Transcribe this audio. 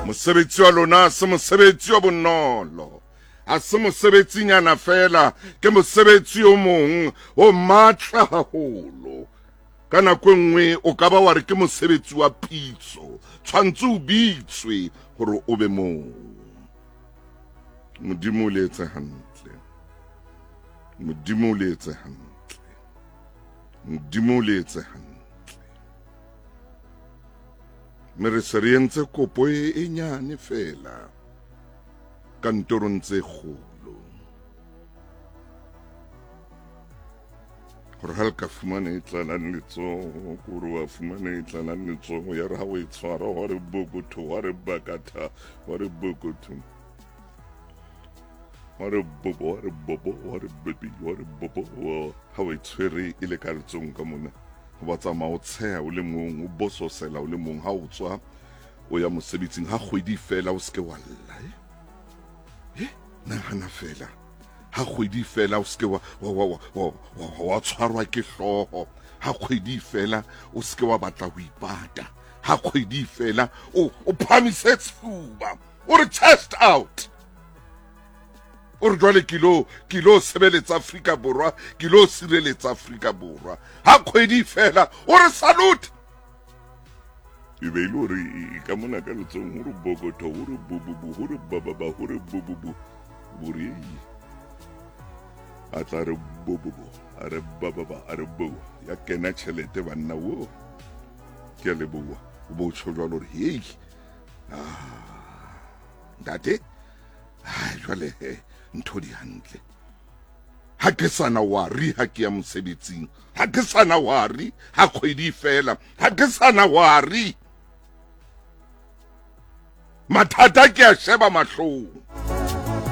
Mosebetsi wa lona se mosebetsi o bonolo, ha se mosebetsinyana fela, ke mosebetsi o mong o matla haholo. Ka nako e nngwe o ka ba wa re ke mosebetsi wa pitso, tshwantse o bitswe hore o be moo. Modimo o le etse hantle, Modimo o le etse hantle, Modimo o le etse hantle. Mme re se re entse kopo e, e nyane fela kantorong tse kgolo gore ga le ka fumana e tlalang letsogo kore wa fumana e tlalang letsogo ya re ga o e tshwara wa re bokotho wa re bakatha wa re bokotho wa re bobo wa re bobo wa re bebi wa re bobo ga o e tshwere e le ka letsong ka mona ba tsamaya o tsheha o le mong o bososela o le mong ha o tswa o ya mosebetsing ha kgwedi fela o seke wa lla eh? Eh? Nahana fela ha kgwedi fela o seke wa, wa, wa, wa, wa, wa, wa tshwarwa ke hlooho ha kgwedi fela o seke wa batla ho ipata ha kgwedi fela o, o phamise sefuba o re chest out o re jwale ke lo ke lo sebeletsa Afrika Borwa ke lo sireletsa Afrika Borwa ha kgwedi fela o re salute e be ile gore e ka mona ka letsong gore bokotho gore bobobo gore bababa gore bobobo bore a tla re bobobo a re bababa a re bo ya kena tšhelete banna wo ke a leboa o bo tšho jalo gore hei ah ntate ai jwale he ntho di hantle ha ke sana wari ha ke ya mosebetsing ha ke sana wari ha kgwedi fela ha ke sana wari mathata ke a sheba mahlong.